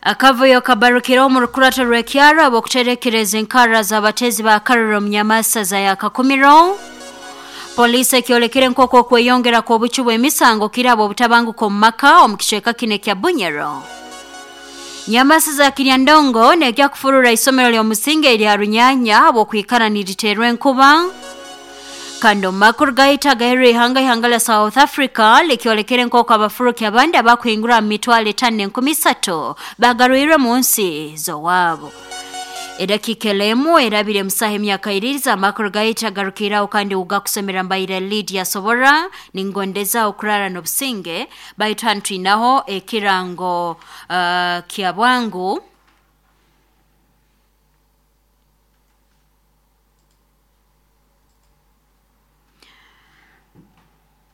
Akavuyo kabarukire omu rukurato rw'ekyaro ab'okuterekereza enkarra z'abateezi ba karura omu nyamasaza ya Kakumiro. Poliisi ekyolekere nk'oku okweyongera kw'obucwi bw'emisango kiraba obutabanguko omu maka omu kicweka kinu ekya Bunyoro. Nyamasaza Kiryandongo nejja kufurura isomero ly'omusingi erya Runyanya habw'okwikara niriteerwa enkuba. Kandi omu makuru gaitu agaheerwa ihanga ihanga lya South Africa likyolekere nk'oku abafuruki abandi abakuhingura mu mitwaro 5 300 bagarwirwe mu nsi z'owaabo. Edakiika elemu erabire musaha emyaka iririza amakuru gaitu agarukiraho kandi ugakusomera mbaire Lydia Sobora ningondeza okurara n'obusinge baitu hanu twinaho ekirango kya bwangu.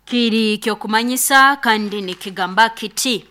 Kiri ky'okumanyisa kandi nikigamba kiti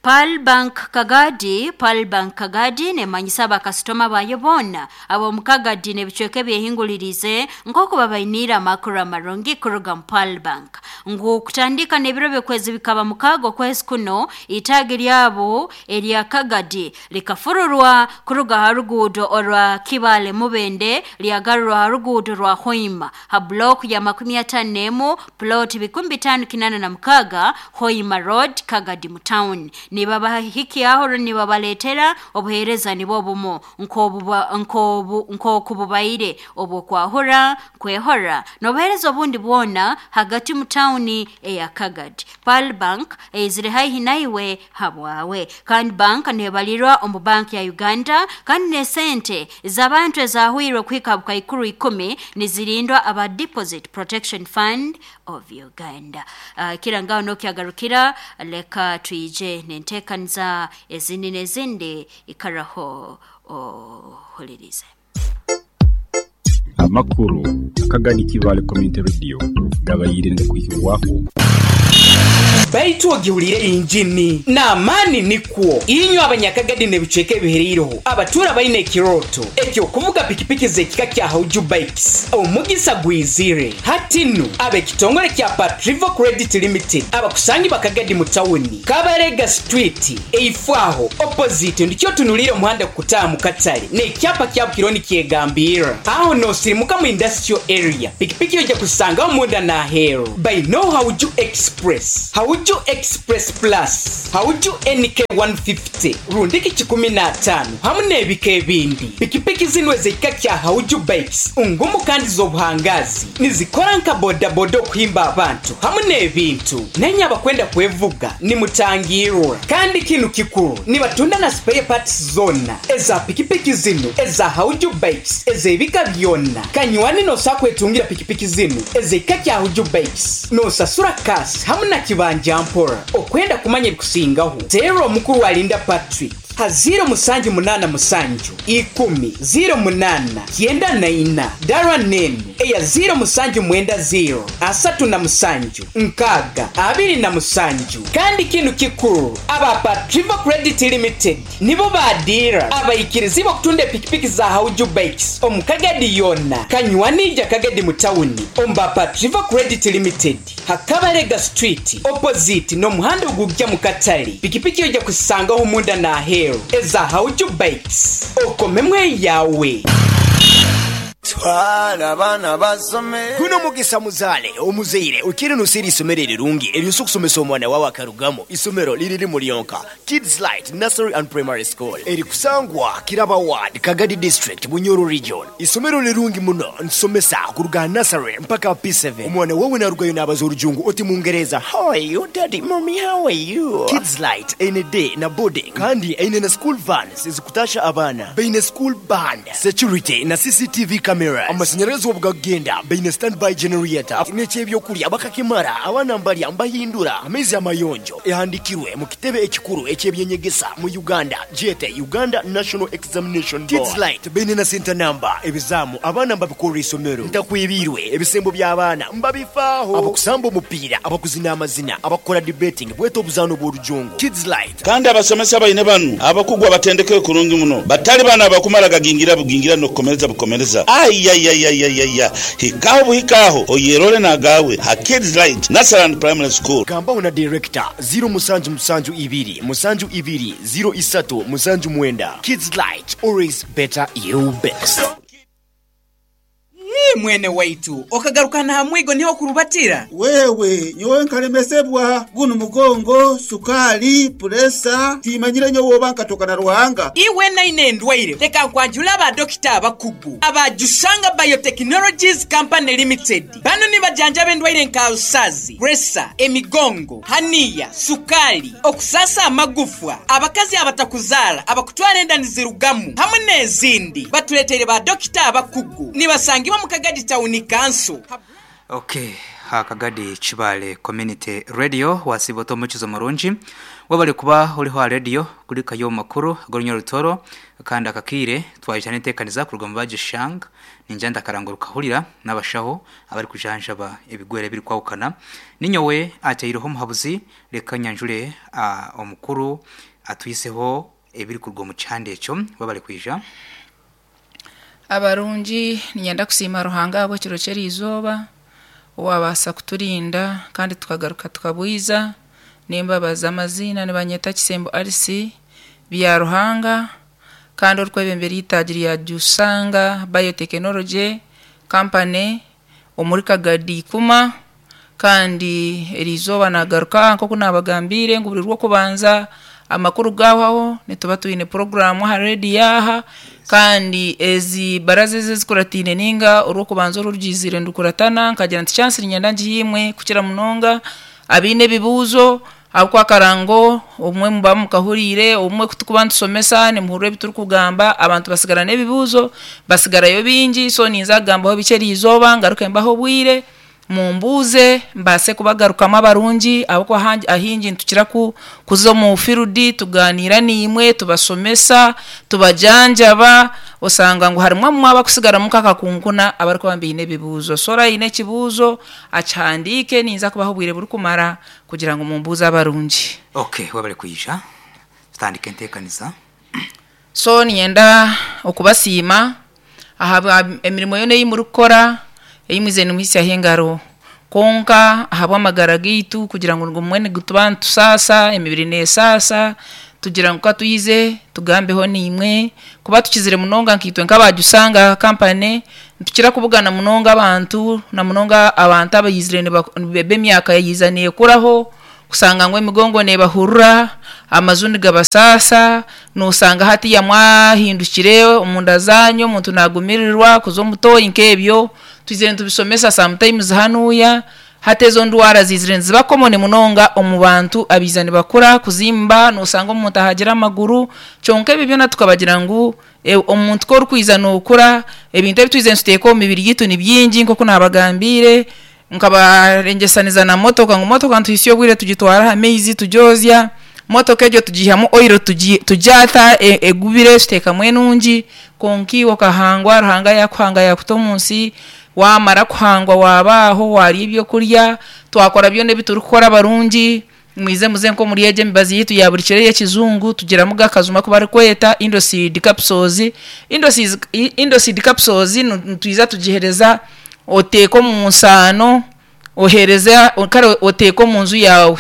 Pearl Bank Kagadi, Pearl Bank Kagadi nemanyisa abakasitoma bayo boona ab'omu Kagadi n'ebicweka ebyehingulirize nk'oku babainiire amakuru amarungi kuruga mu Pearl Bank ngu kutandika n'ebiro by'okwezi bikaba mukaaga okwezi kuno itaagi ryabo erya Kagadi likafururwa kuruga ha ruguudo orwa Kibale Mubende lyagarurwa ha ruguudo rwa Hoima ha block ya 51 plot 5586 Hoima Road Kagadi mu town. Nibabahikyaho nibabaleetera obuheereza nibwo bumu nk'oku bubaire obw'okwahura kwehora n'obuheereza obundi bwona hagati mu tawuni eya Kagadi. Pearl Bank eizire haihi naiwe habwawe. Kandi bank nebalirwa omu banki ya Uganda kandi n'esente z'abantu ezahwirwe kuhika bukaikuru 10 nizirindwa aba Deposit Protection Fund of Uganda. Kirangaho n'okyagarukira leka twije n'enteekaniza ezindi n'ezindi ikaraho ohulirize. Amakuru Akagadi Kibaale Community Radio gabaire nigakwihibwaho. Baitu ogihuliire engini n'amaani nikwo. Inywe Abanyakagadi n'ebicweka ebihereireho abatuura baine ekirooto eky'okuvuga pikipiki z'ekika kya Hauju Bikes, omugisa gwizire. Hati nu, ab'ekitongore kya Patrivo Credit Limited abakusangibwa Kagadi mu tawuni, Kabarega Street, eifo aho, opposite, ndikyo otunuliire omuhanda gukutaaha mu katale n'ekyapa kyabo kiriho nikyegambirra. Aho noosirimuka mu Industrial Area, pikipiki oija kuzisangaho munda n'aheeru. Baineo Hauju Express, Hauju Express Plus, Hauju NK 150, rundiki kikumi n'ataano hamu n'ebika ebindi. Pikipiki zinu ez'ekika kya Hauju Bikes ngumu kandi z'obuhangaazi. Nizikora nka bodaboda okuhimba abantu hamu n'ebintu. Nainye abakwenda kwevuga nimutangirwa. Kandi kinu kikuru, nibatunda na spare parts zoona eza pikipiki zinu eza Hauju Bikes ez'ebika byona. Kanywani noosobola kwetungira pikipiki zinu ez'ekika kya Hauju Bikes noosasura cash hamu na kibanja mpora. Okwenda kumanya ebikusingaho, teera omukuru Alinda Patrick ha ziiro musanju munaana musanju ikumi ziiro munaana kyenda na ina dara n'enu eya ziiro musanju mwenda ziiro asatu na musanju nkaaga abiri na musanju. Kandi kinu kikuru, aba Patrivo Credit Limited nibo baadiira abaikirizibwa okutunda epikipiki za Hauju Bikes omu Kagadi yoona. Kanywani ija Kagadi mu tawuni omu ba Patrivo Credit Limited ha Kabarega Street opposite n'omuhanda ogujja mu katale. Pikipiki oija kuzisangaho munda n'aheeru eza Hauju Bikes. Okomemu eyawe. Twala abaana basome. Guno mugisa muzaale omuzaire okiire noseera eisomero erirungi eryosobola okusomesa omwana wawe akarugamu. Isomero liri limu lyonka, Kids Light Nursery and Primary School eri kusangwa Kiraba Ward, Kagadi District, Bunyoro Region. Isomero lirungi muno nitusomesa kuruga aha nursery mpaka aha P7. Omwana wawe narugayo nabaza orujungu oti Mungereza, How are you daddy, mummy how are you? Kids Light eine day na boarding kandi eine na school vans ezikutasha abaana. Baine school band, security na CCTV cameras. Amasanyarazi obu gakugenda baine standby generator n'eky'ebyokurya bakakimara abaana mbarya mbahindura amaizi amayonjo. Ehandikirwe mu kitebe ekikuru eky'ebyenyegesa mu Uganda gyete Uganda National Examination Board. Kids Light baine na center number, ebizaamu abaana mbabikorera isomero. Ntakwebiirwe ebisembo by'abaana mbabifaaho. Abakusamba omupiira, abakuzina amazina, abakukora debating bwete obuzaano bw'orujungu. Kids Light. Kandi abasomesa baine banu abakugu abatendekeirwe kurungi muno, batali bano abakumara gagingira bugingira n'okukomereza bukomereza. Ayayayayaya! Hikaho buhika aho oyerore n'agaawe ha Kids Light Nursery and Primary School. Gambaho na Director, ziro musanju musanju ibiri musanju ibiri ziro isatu musanju mwenda. Kids Light, always better you best. Ii, mwene waitu, okagaruka n'aha mwigo niho okurubatira? Wewe, nyowe nkalemesebwa gunu mugongo, sukaali, puresa, tiimanyire nyowe oba nkatoka na Ruhanga. Iwe naine endwaire, leka nkwanjule aba dokita abakugu aba Jushanga Biotechnologies Company Limited. Bano nibajanjaba endwaire nka alusazi, puresa, emigongo, haniya, sukaali, okusaasa amagufwa, abakazi abatakuzaara, abakutwara enda nizirugamu hamwe n'ezindi. Batureteire ba dokita abakugu. Nibasangibwa mu Kagadi Tawuni Kanso. Ok, ha Kagadi Kibaale Community Radio wasiiba ota omukizo murungi. Webale kuba oriho aha radio kurikayo omu makuru ag'orunya Rutoro kandi aka kaire twaija n'enteekaniza kuruga omu Bagishang ningira ndakarango rukahurira n'abashaho abarikujanjaba ebigwere ebirikwahukana. Ninyowe ataireho omuhabuzi reka nyanjure omukuru atwiseho ebirikuruga omu kihanda ekyo. Webale kwija. Abarungi, niinyenda kusiima Ruhanga ahabw'ekiro ky'eriizooba, owaabaasa kuturinda kandi tukagaruka tukabwiza. Nimbabaza amaziina nibanyeta Kisembo Alice Byaruhanga kandi orikwebembera eitaagi rya Jusanga Biotechnology Company omuri Kagadi Ikuma. Kandi eriizooba naagaruka nk'oku naabagambiire ngu buri Rwokubanza amakuru gaahwaho nituba twine puroguraamu aha rediyo aha. Kandi ezi baraza ezi ezikurataine nainga Orwokubanza oru orugizire nirukuratana nkagira nti chansi niinyenda ngihe imwe kukira munonga abaine ebibuuzo ahabw'okuba akarango obumwe muba mukahuriire, obumwe ku turikuba nitushomesa nimuhurira ebi turikugamba abantu batsigara n'ebibuuzo batsigarayo bingi so ninza kugambaho bikye eriizooba ngaruke mbahe obwire. Mumbuuze mbaase kubagarukamu abarungi ahabw'okuba ahaingi nitukira kuza omu fiirudi tugaaniira naimwe, tubashomesa, tubajanjaba, osanga ngu harimu abamwe abarikusigaramu nk'akakunkuna abarikuba baine ebibuuzo. So oraaba oine ekibuuzo akihandiike ninza kubaha obwire burikumara kugira ngu mumbuuze abarungi. Ok webale kwija tutandike enteekaniza. So niinyenda okubasiima ahabwa emirimo yoona ei murikukora, ei mwizire nimuhitsyaho engaro. Kwonka ahabw'amagara gaitu kugira ngu nigumwe nituba nitusaasa, emibiri neesaasa, tugira ngu ka twize tugambeho naimwe. Kuba tukizire munonga nkaitwe nk'aba Jusanga Company, nitukira kubugana munonga abantu, na munonga abantu abaizire b'emyaka yaija neekuraho. Kushanga ngu emigongo neebahurura, amaju nigabasaasa, noosanga hatiiya mwahindukire omunda zaanyu omuntu naagumirirwa kuza omu tooyi nk'ebyo. Twizire nitubishomesa sometimes hanuuya, hati ezo ndwara ziizire niziba common munonga omu bantu abaija nibakura, kuzimba, noosanga omuntu ahagire amaguru, kyonka ebyo byona tukabagira ngu omuntu ku orikwija nookura, ebintu ebi twizire nituteeka omu mibiri yaitu ni bingi nk'oku naabagambiire. Nkabarengyesaniriza na motoka ngu motoka nituhitsya obwire tugitwara aha maizi tugyozya, motoka egyo tugiihamu oil tugyata egubire tuteekamu enungi, kwonka iwe okahangwa Ruhanga yaakuhanga yaakuta omu nsi, waamara kuhangwa waaba aho waarya ebyokurya, twakora byona ebi turikukora abarungi, Mwije muze nk'omuri egyo emibazi yaitu ya buri kiro ey'ekijungu, tugiramu g'akajuma aku barikweta Indoseed Capsules. Indoseed Capsules nitwija tugihereza oteeke omu nsaano, ohereze kare oteeke omu nju yaawe.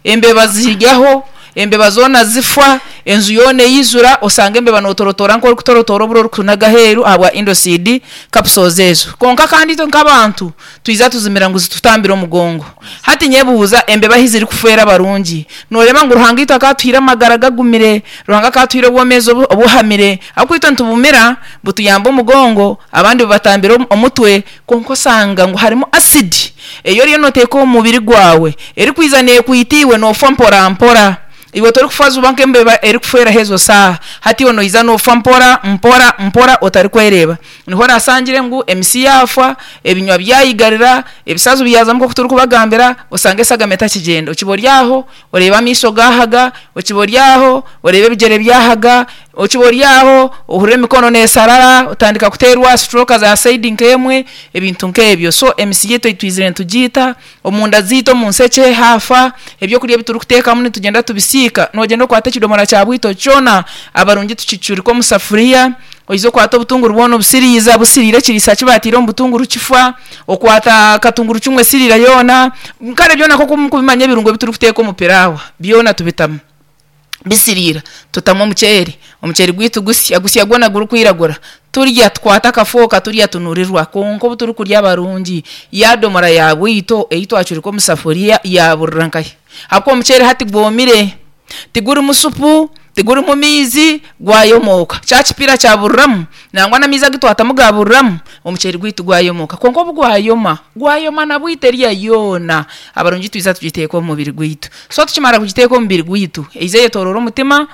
Embeba ziryaho, embeba zoona zifa, enju yoona eijura, osanga embeba nootorotoora nk'orikutorotoora oburo orikunaga aheeru ahabwa Indoseed Capsules ezo. Kwonka kandi itwe nk'abantu, Twija tuzimira ngu zitutambire omugongo. Hati nyebuuza, embeba ahi zirikufeera abarungi? Nooreeba ngu Ruhanga itwe akatuhaire amagara gagumire, Ruhanga akatuhaire obwomeezi obuhamire, ahabw'okuba itwe nitubumira, butuyamba omugongo, abandi bubatambira omutwe, kwonka osanga ngu harimu asidi ei oriyo nooteeka omu mubiri gwawe, erikwija neekwita iwe noofa mpora mpora. Iwe torikufa juba nk'embeba erikufeeraho ezo saaha. Hati iwe noija noofa mpora mpora mpora otarikwereeba. Niho oraasangire ngu emisi yaafa, ebinywa byayigarira, ebisazu byazamu nk'oku turikubagambira, osanga eshagama etakigyenda. Okiba ori aho, oreeba amaisho gaahaga, okiba ori aho, oreeba ebigyere byahaga, okiba ori aho, ohurira emikono neesharara, otandika kuteerwa stroke za sayidi nk'emwe, ebintu nk'ebyo. So emisi yaitu ei twizire nitugiita, omunda zaitu omu nshekye haafa, ebyokurya ebi turikuteekamu nitugyenda tubisiika. Noogyenda okwate ekidomora kya bwito kyona, abarungi tukicurike omu safuriya. Oiza okwata obutunguru bwona obusiriiza busiriira ekiriisa ki baataire omu butunguru kifa, okwata katungurucumu esiriira yoona, kare byona nk'oku murikubimanya ebirungo ebi turikuteeka omu piraawa byona tubitamu. Bisiriira, tutamu omuceeri, omuceeri gwaitu gusya, gusya gwona gurikwiragura, turya tukwata akafooka turya tunurirwa. Kwonka obu turikurya barungi, yaadomora ya bwito ei twacurika omu safuriya yaaburira nkahi? Ahabw'okuba omuceeri hati gwomire, tigurimu supu, tigurimu maizi, gwayomooka. Kya kipiira kyaburiramu, nangwa n'amaizi agu twatamu gaaburiramu, omuceeri gwaitu gwayomooka. Kwonka obu gwayoma, gwayoma na bwito eriya yoona, abarungi twija tugiteeka omu mubiri gwaitu. So tukimara kugiteeka omu mubiri gwaitu, eija eyetooroora omutima,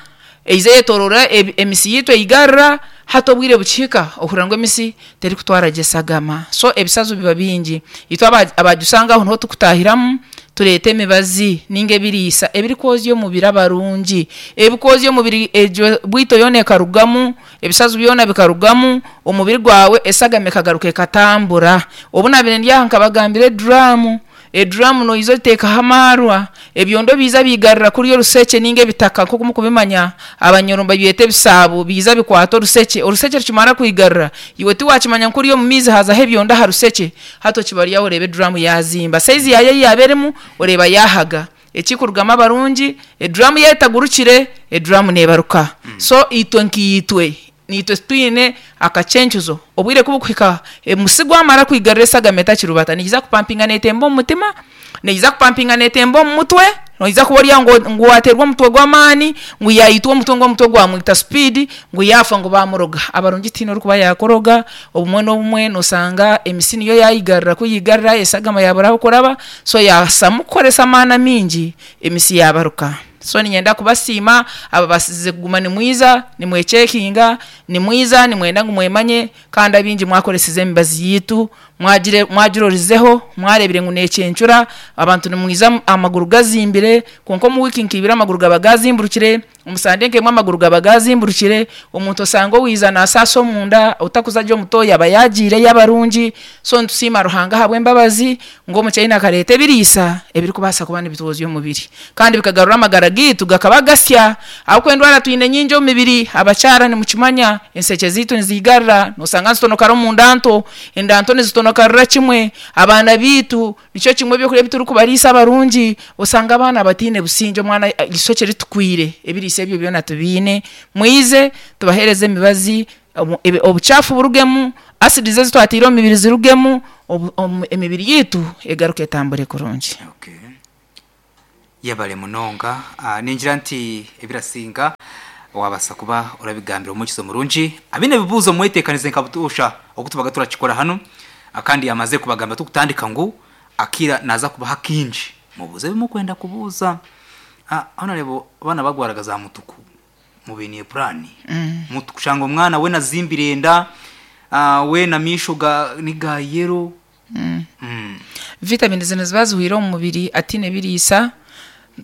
eija eyetooroora emisi yaitu eigarura, hati obwire bukihika ohurira ngu emisi terikutwara gye eshagama. So ebisazo biba bingi. Itwe abaagishanga aho niho turikutahiramu tureeta emibazi ninga ebiriisa ebirikwozya omubiri abarungi, ebikwozya omubiri egyo bwito yoona ekarugamu, ebisazo byona bikarugamu, omubiri gwawe eshagama ekagaruka ekatambura. Obu naabaire ndi aha nkabagambira eduraamu. Eduraamu noija ogiteekaho amaarwa, ebyondo biija biigarura kuriya orushekye nainga ebitaka nk'oku murikubimanya Abanyoro nibabyeta ebisaabo, biija bikwata orushekye. Orushekye rukimara kwigarura, iwe tiwaakimanya ngu kuriya omu maizi haazaho ebyondo aha rushekye, hati okiba ori aho oreeba eduraamu yaazimba. Sayizi yaayo ei yaaba erimu oreeba yaahaga. Ekirikurugamu abarungi, eduraamu yaaba etagurukire, eduraamu neebaruka. So itwe nkaitwe, Naitwe titwine akacencuzo. Obwire ku bukuhika, omusi gwamara kwigarura esagama etakirubata, neija kupampinga neetemba omu mutima, neija kupampinga neetemba omu mutwe, noija kuba ori aho ngu waateerwa omutwe gw'amaani, ngu yaitwa omutwe ngu omutwe gwamwita supiidi, ngu yaafa ngu baamuroga. Abarungi tihaine orikuba yaakuroga, obumwe n'obumwe noshanga emisi niyo yaayigarura, ku yigarura esagama yaabura ah'okuraba, so yaasamu kukoresa amaani amaingi, emisi yaabaruka. So niinyenda kubasiima ababaasize kuguma nimwiza nimwekyekinga, nimwiza nimwenda ngu mwemanye kandi abaingi mwakoresize emibazi yaitu, mwagire mwagirorizeho, mwareebire ngu neekyencura, abantu nimwiza amaguru gazimbire, kwonka omu wiiki nka ibiri amaguru gaba gaazimburukire, omu sande nk'emwe amaguru gaba gaazimburukire, omuntu osanga owaiza naasaasa omunda, otakuza gye omu tooyi aba yaagiireyo abarungi, so nitusiima Ruhanga ahabw'embabazi ngu omukyena akareeta ebiriisa ebirikubaasa kuba nibitwozya omubiri kandi bikagarura amagara gaitu gakaba gasya. Ahabw'okuba endwara twine nyingi omu mibiri, abakyara nimukimanya enshekye zaitu niziigarira, noshanga nizitonokara omu nda nto, enda nto nizitonokarira kimwe, abaana baitu nikyo kimwe ebyokurya ebi turikubariisa abarungi, osanga abaana bataine busingye omwana eishokye ritukwire, ebiriisa ebyo byona tubiine. Mwije tubaheereze emibazi Obukyafu burugemu, acids ezi twataire omu mibiri zirugemu, emibiri yaitu egaruke etambure kurungi. Okay. Yebare munonga. Ningira nti ebirasinga wabasa kuba orabigambira omuhurikiza omurungi. Abaine ebibuuzo mwetekanize nka butoosha oku tubaga turakikora hanu. Kandi yamazire kubagambira tukutandika ngu akaire naza kubaha kaingi mubuuze ebi murikwenda kubuuza. Aho nareeba abaana bagwaraga za mutuku. Mubainiire puraani. Mutukushanga omwana weena azimbire enda, weena amaisho ga ni ga yero. Vitamini zinu niziba zihweire omu mubiri ataine biriisa.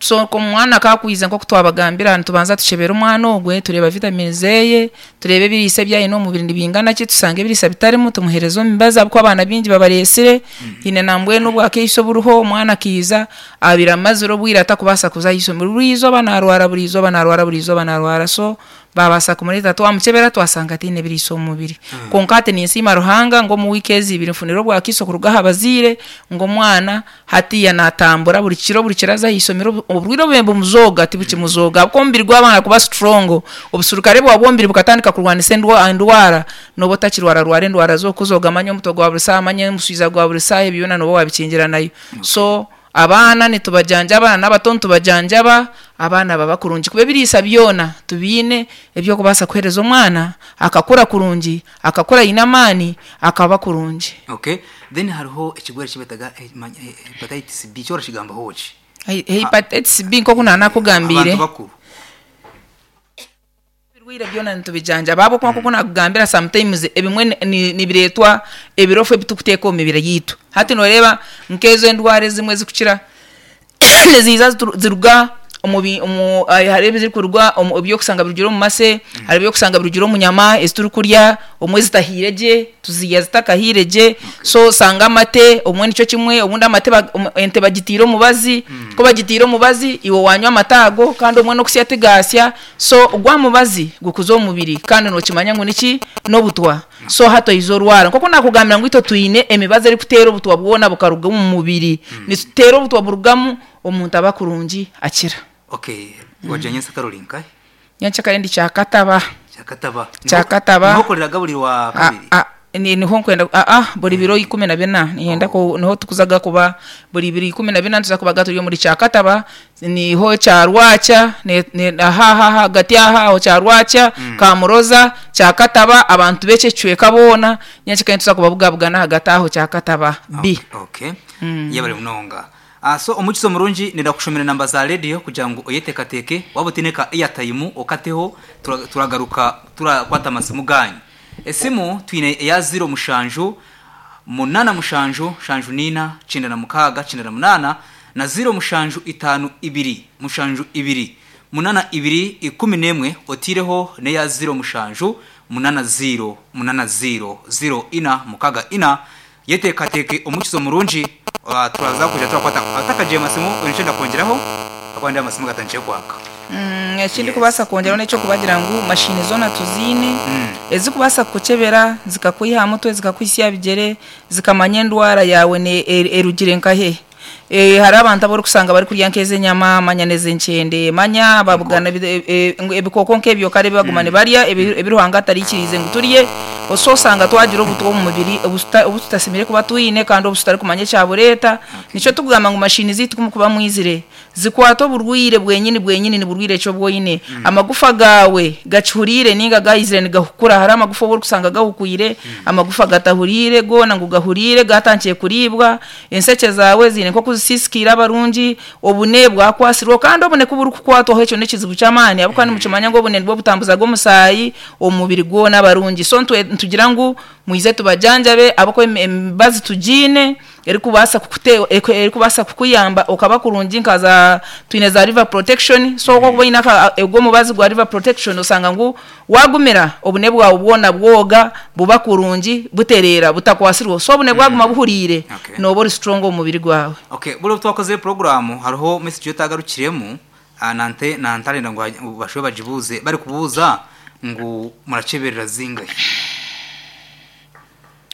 So omwana ku akwiza nk'oku twabagambira nitubanza tukyebera omwana ogwe tureeba vitamini zeeye, tureeba ebiriisa ebi aine omu mubiri nibingana ki, tushanga ebiriisa bitarimu tumuheereza omu mibazi ahabw'okuba abaana baingi babareetsire. Haine nambwenu obwakaiso oburiho omwana akaija Abaire amazire obwire atakubaasa kuza aha ishomero, buri izooba naarwara, buri izooba naarwara, buri izooba naarwara so baabaasa kumureeta twamukyebera twashanga ataine biriisa omu mubiri. Kwonka hati ninsiima Ruhanga ngu omu wiiki ezi ibiri nfunire obwakiiso kuruga aha bazaire ngu omwana hatiiya naatambura buri kiro buri kiro aza aha ishomero, oburwaire obubaire nibumuzooga tibukimuzooga ahabw'okuba omubiri gwamara kuba strong, obusurukare bwawe bw'omubiri bukatandika kurwanisa endwara, nooba otakirwararwara endwara z'okuzooga manya omutwe gwa buri saaha, manya omuswija gwa buri saaha ebyo byona nooba waabikingira nayo. So abaana nitubajanjaba na n'abato nitubajanjaba, abaana baba kurungi kuba ebiriisa byona tubiine eby'okubaasa kuheereza omwana akakura kurungi, akakura aine amaani, akaba kurungi. Okay, then hariho ekirwaire eki beetaga hepatitis B, kyo orakigambaho ki? Hepatitis B nk'oku naanakugambiire. Abantu bakuru. Ebirwaire byona nitubijanjaba ahabw'okuba nk'oku naakugambira sometimes ebimwe nibireetwa ebirofu ebi turikuteeka omu mibiri yaitu. Hati nooreeba nk'ezo endwara ezimwe ezirikukira niziiza ziruga. Omu bi omu hariho ebirikuruga omu ebyokusanga birugire omu mase, hariho ebyokusanga birugire omu nyama ezi turikurya, obumwe zitahiire gye, tuzirya zitakahiire gye, so osanga amate obumwe nikyo kimwe, obundi amate ba ente bagitiire omubazi, ku bagitiire omubazi iwe wanywa amate ago kandi obumwe n'okusya tigaasya, so gwa mubazi gukuza omu mubiri kandi nookimanya ngu niki? N'obutwa. So hati oize orwara. Nk'oku naakugambira ngu itwe twine emibazi erikuteera obutwa bwona bukaruga omu mubiri, nituteera obutwa burugamu Omuntu aba kurungi akira. Okay, wagira nyensyakare ori nkahi? Nyenkyakare ndi Kyakataba. Kyakataba. Kyakataba. Niho okoreraga buri rwa kabiri? Niho nkwenda buri biro 14 niinyenda niho tukuzaga kuba buri biro 14 nituza kubaga turi omuri Kyakataba, niho Kyarwakya, aha aha ahagati aha aho Kyarwakya, Kamuroza, Kyakataba, abantu b'ekyo ekicweka boona nyenkyakare nituza kubabugabugana ahagati aho Kyakataba B. Okay, yebare munonga. So omwikiriza omurungi nenda kukushomera enamba za radio kugira ngu oyetekateke waba otaine ka airtime okateho turagaruka turakwata amasimu ganyu. Esimu twine eya ziro mushanju munana mushanju nshanju nina kyenda na mukaaga kyenda na munana na ziro mushanju itano ibiri mushanju ibiri munana ibiri ikumi nemwe oteireho neya ziro mushanju munana ziro munana ziro ziro ina mukaga ina. Yeteekateeke omukizo murungi turaza kwija turakwata atakagiire masimu oine eki orenda kwongyeraho ahakuba nindeeba amasimu gatandikire kwaka. Eki ndikubaasa kwongyeraho n'eky'okubagira ngu mashiini zoona tuziine ezirikubaasa kukukyebera zikakwiha aha mutwe zikakuhitsya aha bigyere zikamanya endwara yaawe erugire nkahe. Hariho abantu abu orikusanga barikurya nk'ez'enyama manya n'ez'enkyende manya babugana ebikooko nk'ebyo kare ebi baguma nibarya ebi Ruhanga atariikiriize ngu turye. So osanga twagira obutwa omu mubiri obu tutasemeriire kuba twine kandi obu tutarikumanya ekyabureeta. Nikyo turikugamba ngu mashiini zaitu ku murikuba mwizire, zikwata oburwaire bwenyini bwenyini niburwaire ki obu oine. Amagufa gaawe gakihuriire nainga gaizire nigahukura. Hariho amagufa obu orikusanga gahukwire, amagufa gatahuriire goona ngu gahuriire gaatandikire kuriibwa. Ensekye zaawe ziine nk'oku zisiisikaire abarungi, obune bwakwasirweho. Kandi obune ku burikukwatwaho ekyo n'ekizibu ky'amaani ahabw'okuba nimukimanya ngu obune nibwo butambuzaga omusaayi omu mubiri gwona abarungi. So nitugira ngu mwije tubajanjabe ahabw'okuba emibazi tugiine erikubaasa erikubaasa kukuyamba okaba kurungi nka za twine za liver protection so ku orikuba oine ogwo omubazi gwa liver protection osanga ngu Waagumira, obune bwawe bwona bwoga, buba kurungi, butereera, butakwasirweho. So obune bwaguma buhuriire, nooba ori strong omu mubiri gwawe. Okay, buri obu twakozire puroguraamu hariho message ei otagarukiremu nante nantarenda ngu bashube bagibuuze barikubuuza ngu murakyeberera zingahi?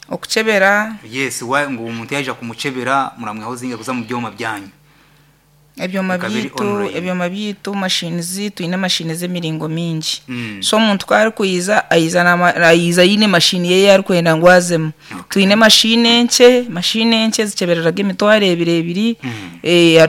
Okukyebera? Yes, ngu omuntu yaija kumukyebera muramwihaho zingahi kuza omu byoma byanyu? Ebyoma Bikaba biri byaitu, online. ebyoma byaitu, machines twine machine z'emiringo mingi. So omuntu ku arikwija aija na aija aine machine ye ei arikwenda ngu azemu. Twine machine enkye, machine enkye zikyebereraga emitwaro ebiri ebiri,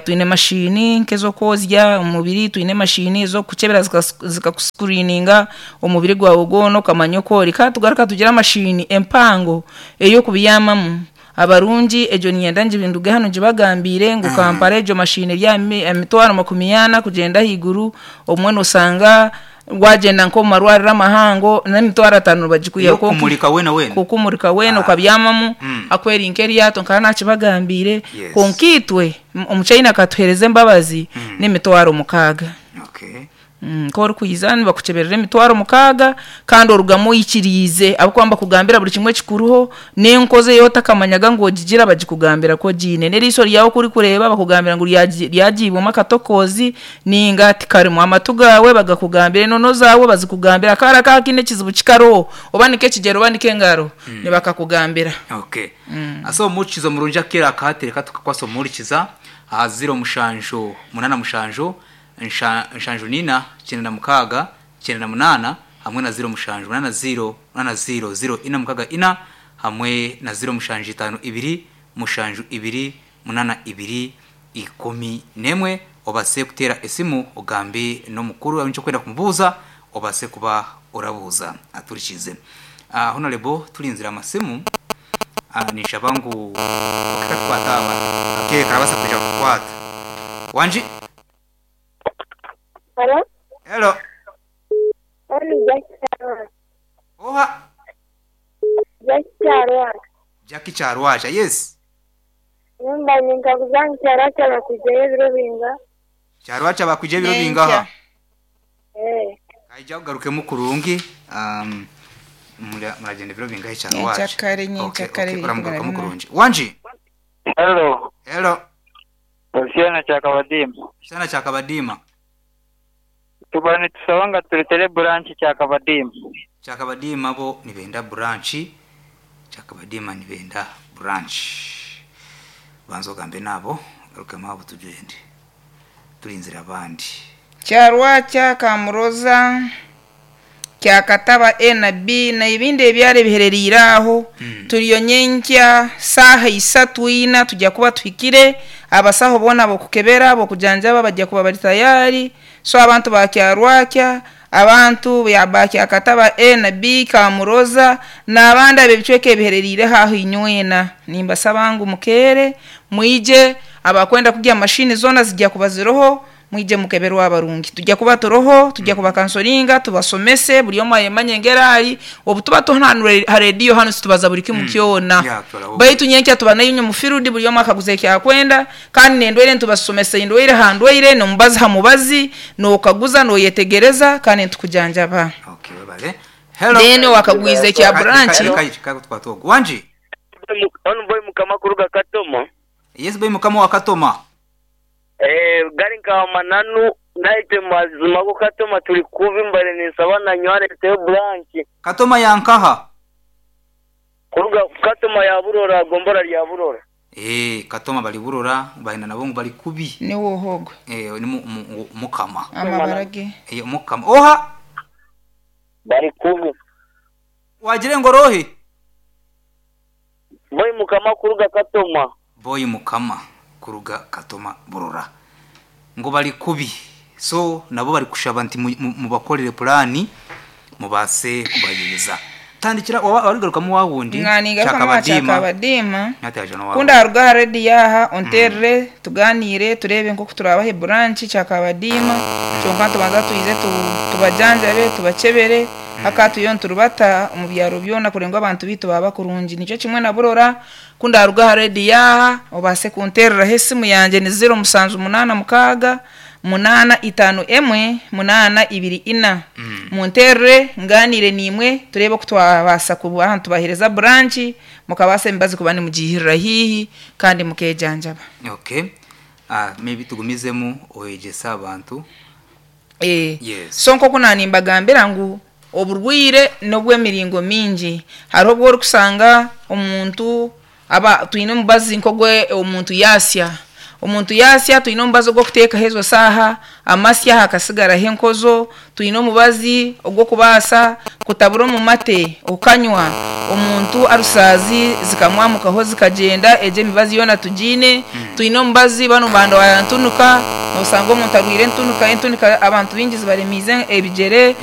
twine machine nk'ez'okwozya omubiri, twine machine ez'okukukyebera zikakuscreeninga omubiri gwawe gwona okamanya oku ori. Kandi tugaruka tugira machine empango ey'okubyamamu. Abarungi, egyo niinyenda ngi nduge hanu ngibagambiire ngu Kampala egyo mashini eri aha mitwaro makumi ana kugyenda ahaiguru, obumwe noosanga waagyenda nk'omu marwariro amahango n'emitwaro ataano nibagikwihaho kwonka Ey'okukumurika weena weena? Kukumurika weena okabyamamu ahakuba eri nk'eryato nkaba naakibagambiire kwonka itwe omuchaina akatuheereza embabazi n'emitwaro 6. Okay. Ku orikwija nibakukyeberera emitwaro 6 kandi orugamu oikiriize ahabw'okuba nibakugambira buri kimwe ekikuriho n'enkozi ei otakamanyaga ngu ogigira bagikugambira ku ogiine. N'eriisho ryawe ku orikureeba bakugambira ngu ryagiibwemu akatokoozi nainga tikarimu. Amatu gaawe bagakugambira, enono zaawe bazikugambira, akaara akaawe kaine ekizibu kikariho oba ni k'ekigyere oba ni k'engaro nibakakugambira. Okay. So omuhurikiza omurungi akaire aka hati reka tukakwase omuhurikiza aha ziro mushanju munana mushanju nshanju n'ina, 96, 98 hamwe na 07 8 0 8 0 0 4 6 4 hamwe na 0 7 5 2 7 2 8 2 11 obase kuteera esimu ogambe n'omukuru waaba oine eki orikwenda kumubuuza obase kuba orabuuza aturikiize. Honarebo turinzire amasimu ninshaba ngu okatakukwata aba akaire karabaasa kwija kukukwata. Wangi? Halo. Hello. Oni Jackie Kyarwaja. Oha? Jackie Kyarwaja. Jackie Kyarwaja, yes. Nyumba ninkaguza ngu Kyarwaja bakwizeyo ebiro binga? Kyarwakya bakwija ebiro Nyenkya. bingaha? Eh, Kaija kugarukemu kurungi. Muragenda ebiro bingahe kyarwakya? Nyenkyakare, nyenkyakare Okay, uramugarukamu biri kurungi. Wanji. Hello, Hello. Osiana Kyakabadiima. Sana kyakabadiima. Tuba nitusaba nga turetere branch Kyakabadiima. Kyakabadiima bo nibenda branch. Kyakabadiima nibenda branch. Banza ogambe nabo, garukemu abo tugende. Turinzire abandi. Kyarwakya Kamuroza Kyakataba A na B na ebindi ebyaro ebihereriire aho. Turiyo nyenkya saaha isatu ina tujya kuba tuhikire abasaho boona bokukebera bokujanjaba bajya kuba bari tayari. So abantu ba Kyarwakya, abantu ba Kyakataba A na B Kamuroza n'abandi ab'ebicweka ebihereriire aho inywena, nimbasaba ngu mukeere mwije. Abakwenda kugya mashini zoona zijya kuba ziroho, mwije mukeberwa abarungi. Tujya kuba turoho, tujya kuba kansoringa, tubasomese buri omwe ayemanye ngerari. Obu tuba tuhana ha rediyo hano situbaza buri kimu kyona. Yeah, twaraho. Baitu nyenkya tuba nayo mu field, buri omwe akaguza ekyakwenda, kandi nendwaire ntubasomese indwaire ha ndwaire, nomubazi ha mubazi, nokaguza noyetegereza, kandi ntukujanjaba. Okay, webale. Hello. Then wakagwiza ekya branch. Wanji. Ono boy mukama kuruga Katoma. Yes boy mukama wa Katoma. Gari nka mananu naite mazima go Katoma tuli kubi mbale ninsaba na nyware te branch. Katoma yankaha. Kuruga Katoma ya Burora, gombora lya Burora. Katoma bali Burora, bahina nabo ngu bali kubi. Niwo hogo. Ni mukama. Amabarage. Mukama. Oha. Bali kubi. Wagire ngorohe. Boy mukama kuruga Katoma. Boy mukama kuruga Katoma Burora. Ngo bali kubi. So nabo bali kushaba nti mubakorere plani mubase kubayeza. Tandikira warigaruka mu wawundi. Mwanigaruka mu Kyakabadiima. Nyataje no wawe. Kunda haruga redi yaha onterere tuganire turebe nko turabahe branch Kyakabadiima. Kyonka tubanza tuize tubajanjabe tubakebere. Akatuyo nturubata mu byaro byona kurenga abantu bitu baba kurungi. Nicyo kimwe na Burora. Kunda haruga redi yaha obase kunterera hesimu yanje ni 0786 851 824. Munterere nganire nimwe turebe ko twabasa kuba tubahereza branch mukabasa embazi kuba ni mugihirira hihi kandi mukejanjaba. Okay. Maybe tugumizemu oyegesa abantu. Yes. So nko kunanimbagambira ngu oburwire nobw'emiringo mingi. Hariho obwo orikusanga omuntu aba twine omubazi nk'ogwe omuntu yasya. Omuntu yasya twine omubazi ogw'okuteekaho ezo saaha, amasya hakasigaraho enkozo, twine omubazi ogw'okubaasa kutabura omu mate okanywa. Omuntu arusaazi zikamwamukaho zikagyenda, egyo emibazi yoona tugiine. Twine omubazi bano banda wa ntunuka, nosanga omuntu arwire entunuka, entunuka abantu baingi zibaremiize ebigyere.